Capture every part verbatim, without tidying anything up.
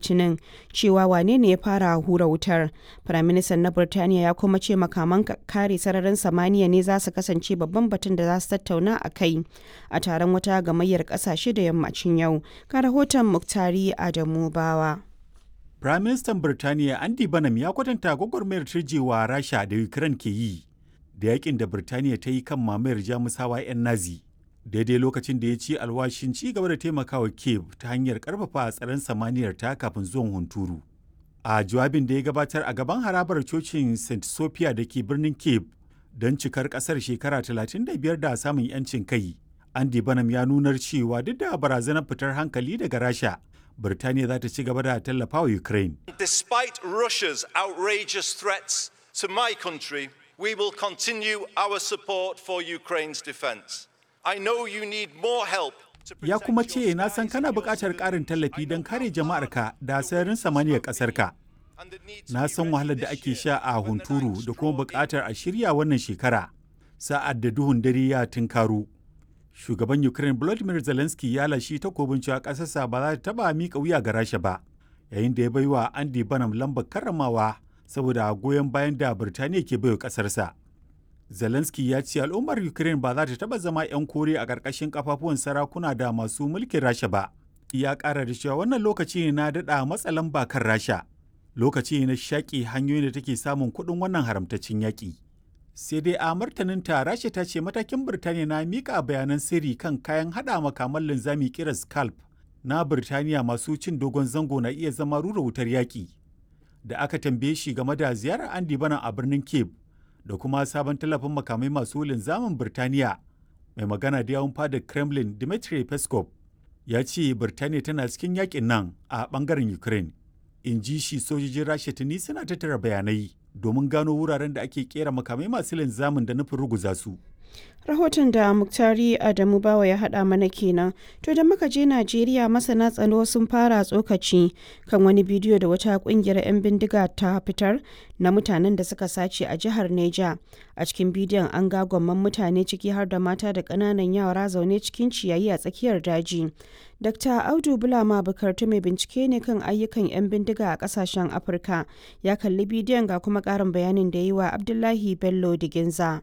Litinin cewa wane ne ya fara hura wutar. Firaministan na Birtaniya ya kuma ce makaman kare sararin samaniya ne za su kasance babban batun da za su tattauna a kai a taron wata gamayyar kasashe da yammacin yau. Ga rahoton Muktari Adamu Bawa. Firaministan Birtaniya Andy Burnham ya kwatanta gwagwarmayar turjewa Rasha da Ukraine ke yi da yakin da Birtaniya ta yi kan mamayar Jamusawa 'yan Nazi. Daidai lokacin da ya ci alwashin ci gaba da taimakawa Kiev ta hanyar karfafa tsaron samaniyar ta kafin zuwan hunturu. A jawabin da ya gabatar a gaban harabar cocin Saint Sophia da ke birnin Kiev don cikar kasar shekara talatin da biyar da samun 'yancin kai, Andy Burnham ya nunar cewa duk da barazanar fitar hankali daga Rasha, Birtaniya za ta ci gaba da tallafawa Ukraine. Despite Russia's outrageous threats to my country, we will continue our support for Ukraine's defense. I know you need more help. Ya kuma ce, na san kana buƙatar ƙarin tallafi don kare jama'arka da sararin samaniyar ƙasarka. Na san wahalar da ake sha a hunturu da kuma buƙatar a shirya wannan shekara sa'ad da duhun dare ya tunkaro. Shugaban Ukraine Volodymyr Zelensky ya lashi takobin cewa ƙasarsa ba za ta taɓa miƙa wuya ga Rasha ba, yayin da ya baiwa Andy Burnham lambar karramawa saboda goyon bayan da Birtaniya ke baiwa ƙasarsa. Zelensky ya ce al'ummar Ukraine ba za ta taɓa zama 'yan kore a ƙarƙashin kafafuwan sarakuna da masu mulkin Rasha ba. Ya ƙara da cewa wannan lokaci ne na daɗa matsa lamba kan Rasha. Lokaci ne na shaƙi hanyoyin da take samun kuɗin wannan haramtaccen yaƙi. Sai dai a martaninta, Rasha ta ce matakin Birtaniya na miƙa bayanan sirri kan kayan haɗa makaman linzami ƙirar Scalp na Birtaniya masu cin dogon zango na iya zama rura wutar yaƙi. Da aka tambaye shi game da ziyarar Andy Bana a birnin Cape da kuma sabon tallafin makamai masu linzamin Birtaniya, mai magana da yawun fadar Kremlin Dmitry Peskov ya ce Birtaniya tana cikin yakin nan a bangaren Ukraine. In ji shi, sojojin Rasha tuni suna tattara bayanai domin gano wuraren da ake kera makamai masu linzamin da nufin ruguza su. Rahoton da Muktari Adamu Bawa ya haɗa mana kenan. To, da muka je Najeriya, masana tsaro sun fara tsokaci kan wani bidiyo da wata kungiyar 'yan bindiga ta fitar na mutanen da suka sace a jihar Neja. A cikin bidiyon an ga gwamman mutane, ciki har da mata da ƙananan yara, zaune cikin ciyayi a tsakiyar daji. Dakta Audu Bulama Bukartu mai bincike ne kan ayyukan 'yan bindiga a ƙasashen Afirka. Ya kalli bidiyon, ga kuma ƙarin bayanin da yi wa Abdullahi Bello Diginza.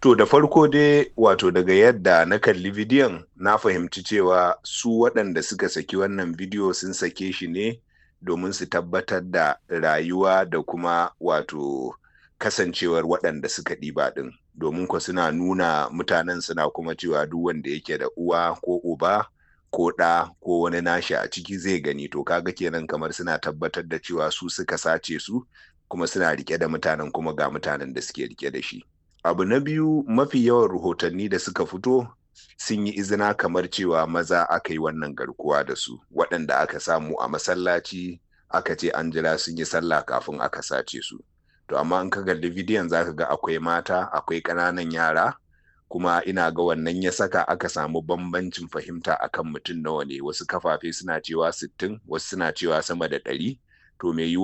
To, da farko dai, wato daga yadda na kalli bidiyon, na fahimci cewa su waɗanda suka saki wannan bidiyo sun sake shi ne domin su tabbatar da rayuwa da kuma wato kasancewar waɗanda suka ɗiba ɗin. Domin ko suna nuna mutanen, suna kuma cewa duk wanda yake da uwa ko uba ko ɗa ko wani nashi a ciki zai gani. To, kaga kenan kamar suna tabbatar da cewa su suka sace su kuma suna rike da mutanen, kuma ga mutanen da suke rike da shi. Abu na biyu, mafi yawan rahotanni da suka fito sun yi izina kamar cewa maza aka yi wannan garkuwa da su, waɗanda aka samu a masallaci, aka ce an jira sun yi sallah kafin aka sace su. To, amma in ka kalli bidiyon zaka ga akwai mata, akwai ƙananan yara, kuma ina ga wannan ya saka aka samu bambancin fahimta akan mutum nawa ne. Wasu kafafe suna cewa sittin, wasu suna cewa sama da ɗari. To, mai yiwuwa